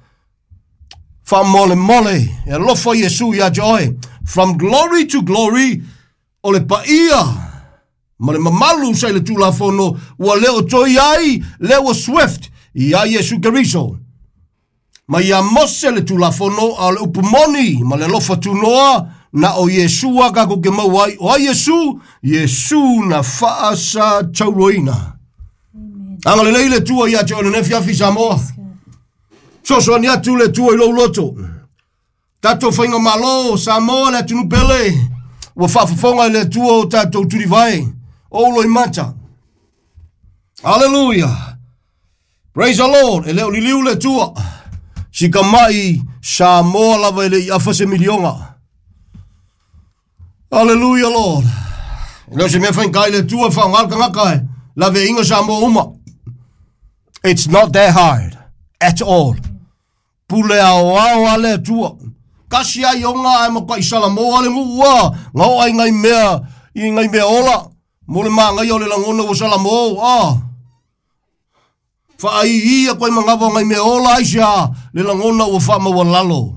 Faamolemole, e alofa Iesu ia te oe. From glory to glory, o le paia ma le mamalu sa i le Tulafono ua le o toe i ai lea ua swift iā Iesu Keriso. Mai iā Mose le Tulafono, a o le upu moni ma le alofa tunoa na o Iesu a kakou ke maua ai. O ai Iesu? Iesu na faasatauloina. Agalelei le Atua ia te oe i lenei afiafi Samoa. Fesoasoani atu le Atua i lou loto. Tatou faigamalo Samoa le atunuu pele ua faafofoga i le Atua o tatou tulivae o uloimata. Hallelujah. Praise the Lord. E le o liliu le Atua. Sikamai Samoa lava e le i afa se miliona. Hallelujah, Lord. E le o se mea faigata i le Atua e faaaoga le tagata e laveaiga Samoa uma. It's not that hard at all. Pule aoao a le Atua. Kasi ai ona ae matuai Salamoa le nuu a ga oo ai ngai mea i ngai mea ola mo le magaia o le lagona ua Salamo a. Faaiī atu ai manava o ngai mea ola aisea le lagona ua faamaualalo.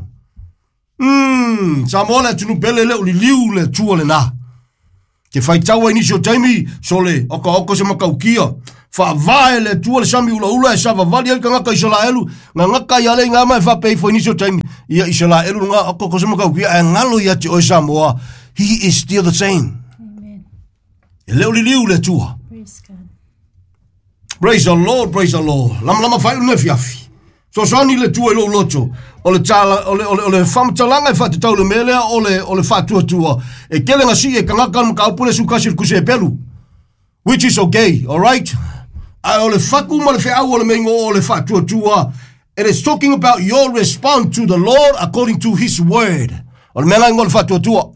Mm, Samoa le atunu pele le o liliu le Atua lena. Te faitau ai nisi o taimi, sole, oka oka se makaukia. Faavae le Atua le sami ulaula e savavali ai kangaka Isalaelu, ngangaka ia le ngama e faapei fo nisi o taimi. Ia Isalaelu nga oka oka se makaukia, e ngalo ia te oe Samoa. He is still the same. Amen. E le o liliu le Atua. Praise God. Praise the Lord, praise the Lord. Lama lama fai une fiafi. Sosoani le tua i lou loto. O le tala, o le, o le, o le whamatalanga e whatetau le melea, o le, o le whatuatua. E kele ngā si e kangaka mka upule sukasi le kuse e pelu. Which is okay, alright? A o le whaku ma le wheau o le mengo o le whatuatua. It is talking about your response to the Lord according to his word. O le mea ingo le whatuatua.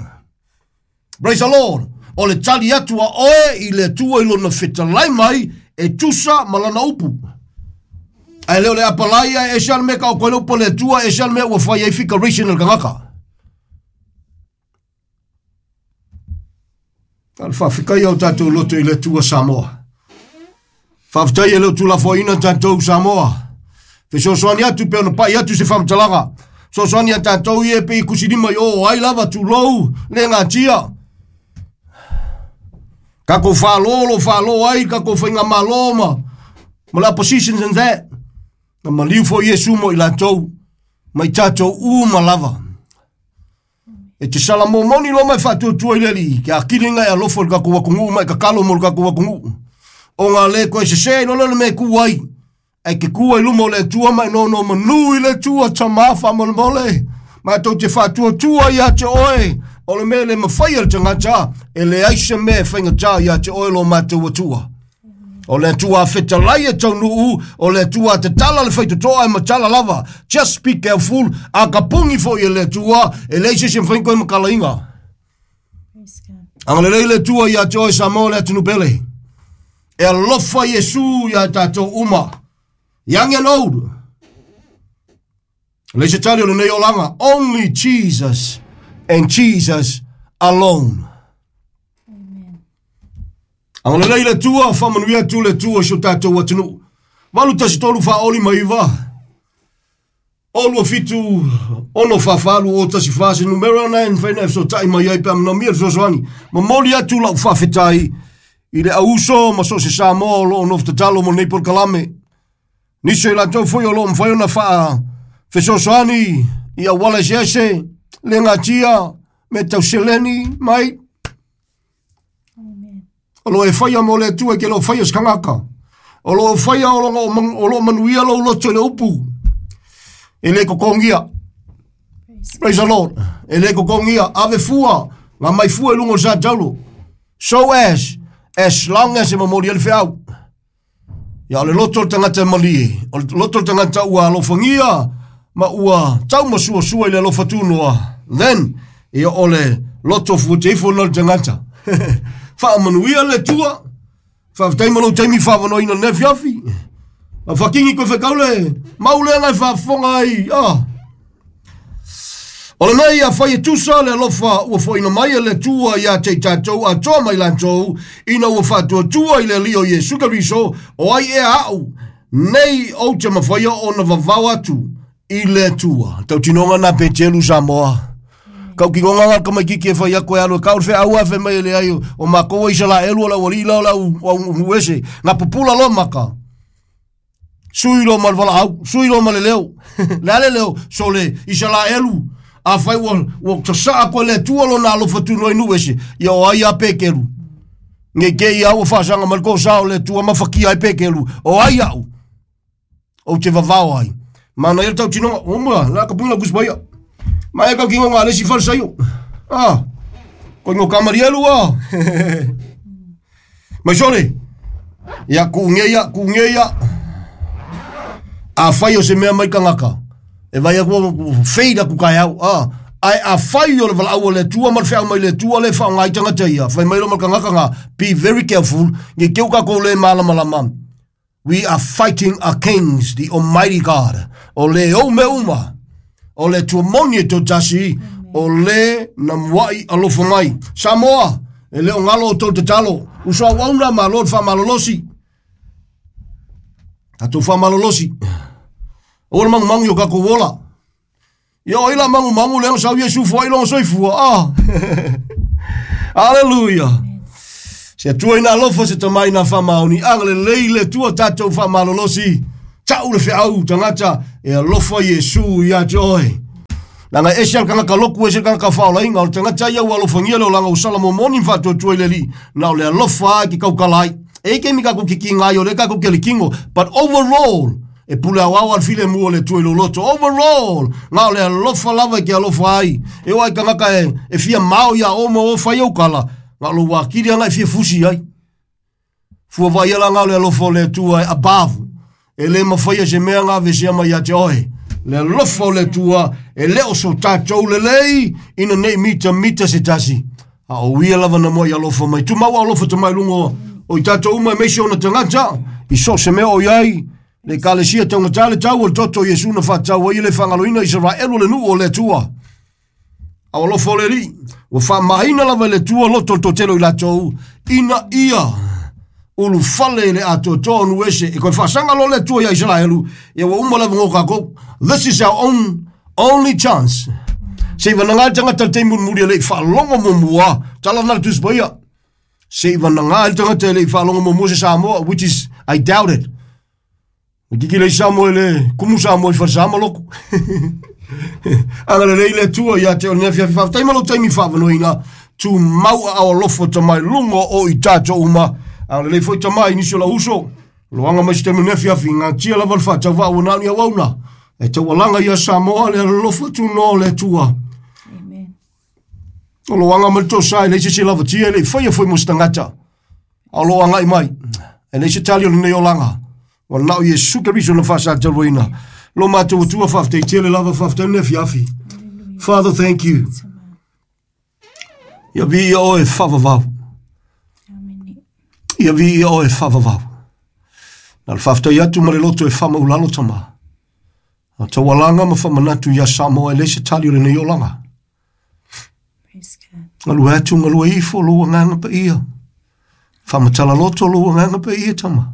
Praise the Lord. O le tali atua oe i le tua i lona fetalai mai e tusa malana upu. Ai leo le apalai e se me ka o koe upu le tua e se me ua whai ai fikaration el kangaka. Al whawhikai au tātou loto i le tua Samoa. Whawhitai e leo tulafoina tātou Samoa. Fesoasoani atu pe ona pai atu se whamtalaga. Sosoani a tātou i e pe i kusirima i o ai lava tūlou le ngā tia. Kako whālō lo whālō ai, kako whainga mālō ma. Ma la positions and that. Na maliu fo Iesu mo i lātou. Mai tātou u ma lava. E te sala mō moni lo mai whātuatua i leli. Kia akiringa e alofo le kako wakungu mai kakalo mo le kako wakungu. O ngā le koe se se no le me ku ai. E ke ku ai lumo le tua mai no no manu i le tua tamafa mo le mole. Mātou te whātuatua i a te oe. O le mele mawhai al tangata, e le aise me whainga tā ia te oe lo mātou atua. O le atua fetalai e taunuu, o le atua te tala le whaitotoa e matala lava. Just be careful, a kapungi fo i le atua, e le aise se mwhaingo e makala inga. Anga le le atua ia te oe Samoa le atunu pele. E alofa Iesu ia tātou uma. Young and old. Le se tali o le nei olanga. Only Jesus and Jesus alone. Amen. Anga le le tua, whamanuia tu le tua so tātou atunu. Valu tasi tolu whaoli maiva. Olua fitu, ono whawhalu o tasi whase numero nine, whaina e so tai mai ai pe amna mia sosoani. Mamoli atu lau whawhetai i le auso ma so se Samoa lo ono whtatalo mo nei por kalame. Niso i lātou foi o lo mwhai ona whaa fesosoani i a wala sese, le ngā tia, me tau seleni, mai. Amen. O lo e whaia mo le atua ke lo whaia skangaka. O lo whaia o lo, o lo manuia lo loto le upu. E le kokongia. Praise the Lord. E le kokongia. Ave fua. Ngā mai fua e lungo sa taulo. So as, as long as e mamori ele whiau. Ia o le loto le tangata malie. O le loto le tangata ua alofangia. Ma ua tau masua sua i le alofatunoa. Then, ia o le loto fuateifo na le tangata. Whaamanuia le tua. Whaaftai malo taimi whaavanoina ne fiafi. A whakingi koe whakaule. Maule ngai whaafonga ai. Ah. O le nei a whai e tusa le alofa ua whaina mai e le tua ia te tātou a toa mai lantou ina ua whātua tua i le lio Iesu Keriso o ai e au nei o te mawhaia o na vavau atu i le tua. Tau tinonga nā Petelu Samoa. Kau ki ngonga ngā kamai kiki e whai ako e alo. Kau whea aua whe mai le ai o makoa i sala elu o la wali la o la uese. Ngā pupula lo maka. Sui lo ma le wala au. Sui lo ma le leo. Le ale leo. So le i sala elu. A whai ua, ua tasaa koe le tua lo nā alofa tu noi nuese. Ia o ai a pekelu. Nge ke ia ua whasanga ma le kō sao le tua mawhakia ai pekelu. O ai au. O te vavao ai. Mana ia tau tinonga. O mua, la kapunga kuspaia. Mai kau ki ngonga le si falsaio. Ah. Ko ngo kamarielu ah. Mai sole. Ia ku ngeia, ku ngeia. A whai o se mea mai kangaka. E vai aku feida ku kai au. Ah. Ai a whai o le wala au le tua ma le whea mai le tua le wha ngai tangata ia. Whai mai lo ma kangaka ngā. Be very careful. Nge keu ka ko le malamalama. We are fighting our kings, the Almighty God. O le o me uma. O le tuamoni e tō tasi, o le namwai alofa mai. Samoa, e leo ngalo o tō te talo. Uso au auna ma lord wha malolosi. Tatou wha malolosi. O le mangu mangu yo kako wola. Ia o ila mangu mangu le sau Iesu fua i longa soifua. Ah. Hallelujah. Se tua ina alofa se tamai na whamaoni. Angale leile tua tātou whamalolosi. Tau le whiau tangata e alofa Iesu ia te oe. Langa ese al kangaka loku ese kangaka whaolainga. O le tangata ia ua alofangia leo langa usala momoni mwhātua tua i leli. Na o le alofa ki kaukalai. E ke mi kako kiki ngai o le kako ke likingo. But overall, e pule au au al file mua le tua i loloto. Overall, ngā o le alofa lava ke alofa ai. E oai kangaka e, e fia mao ia o mo o whai au kala. Ngā lo wakiri anga e fia fusi ai. Fua vai ala ngā o le alofa o le tua e above. E le mawhaia se mea ngā vesia mai a te oe. Le alofa o le tua e leo so tātou le lei ina nei mita mita se tasi. A o ia lava na moa i alofa mai. Tu mau alofa te mai lungo o i tātou uma e meisi ona tangata. I so se mea o iai. Le kalesia taunga le tau o le toto Iesu na whātau ai le whangaloina Israelu le nuu o le tua. A alofa o le li. Ua whaamaina lava le tua loto le totelo i latou. Ina ia ulu fale le atotoa nu ese. E koe whaasanga lo le tua ia Israelu. Ia wa uma lava ngō kākou. This is our own only chance. Se iwa nanga tangata te murimuri le i whaalongo mumua. Tala nā le tuspaia. Se iwa nanga tangata le i whaalongo mumua se Samoa, which is, I doubt it. Kiki le Samoa le kumu Samoa i wharsama loko. Anga le lei le tua ia te o nea fia fia. Taima lo taimi whaavanoina. Tu mau a alofa ta mai lungo o i tātou uma. Anga le lei foi ta mai nisio la uso. Loanga mai si te mea fia fi. Ngā tia lava le whatau wa ua nani au auna. E tau alanga ia Samoa le alofa tu no le tua. Amen. O loanga mai tō sai le se lava tia le whaia foi mustangata. A loanga i mai. E le se tali o le olanga. Wa nao Iesu Keriso na whasa taroina. Lo mātou tua whafte, tele lava whafte ne fiafi. Father, thank you. Ia vi ia oe whawawau. Ia vi ia oe whawawau. Na le whafte atu ma le loto e whama ulalo tama. A taualanga ma whamanatu ia Samoa e le se tali o le nei olanga. Ngalu atu ngalu e ifo lo nganga pa ia. Whamatala loto lo nganga pa ia tama.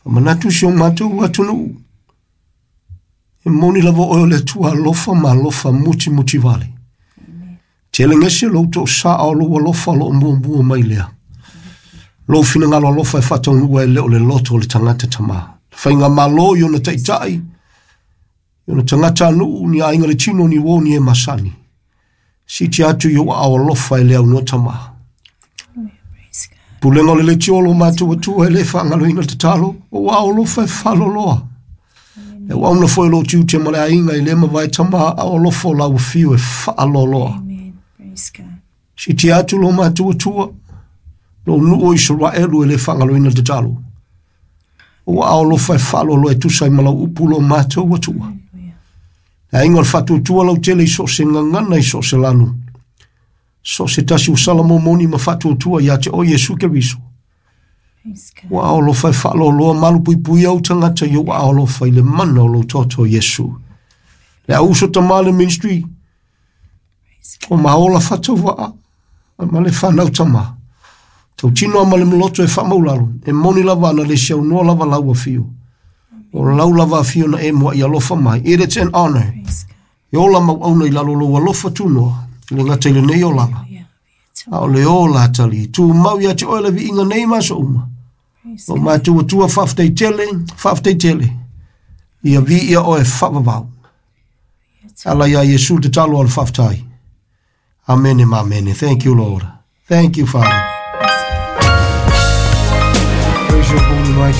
Manatu si o mātou atunu. E moni lava oe le tua alofa ma alofa muti muti vale. Tele ngese lo tō sa o lo alofa lo mua mua mai lea. Lo whina alofa e whataunua e leo le loto o le tangata tama. Whainga malo i ona taitai. I ona tangata anu ni ainga le tino ni wō ni e masani. Siti atu i o au alofa e leo no tama. Pulenga o le leti olo mātou atua e le whaangaloina te talo, o a alofa e whaloloa. E wauna foi lo tiute ma le ainga i le mawai tama a alofa o lau whiu e whaaloloa. Amen. Praise God. Si te atu lo mātou atua, lo nuu o Israelu e le whaangaloina te talo. O a alofa e whaloloa e tusa i malau upu lo mātou atua. Le ainga o le whatuatua lau tele i so se ngangana i so se lanu. So se tasi o Salamo moni ma whatuatua ia te o Iesu Keriso. Ua aolofa e whaaloloa malu pui pui au tangata i ua aolofa i le mana o lo toto Iesu. Le au uso tamale ministry. O maola whataua a ma le whanau tama. Tau tino ama le mloto e whamaulalo. E moni lava ana le siau noa lava lau awhio. O lau lava awhio na e mua i alofa mai. It is an honor. E ola mau auna i lalo lo alofa tunoa. Le ngata i le nei olanga. A o le ola atali. Tu mau ia te oe le viinga nei maso uma. O mātua tua whaftei tele, whaftei tele. Ia vi ia oe whawawau. Ala ia Iesu te talo al whaftai. Amen, amen. Thank you, Lord. Thank you, Father.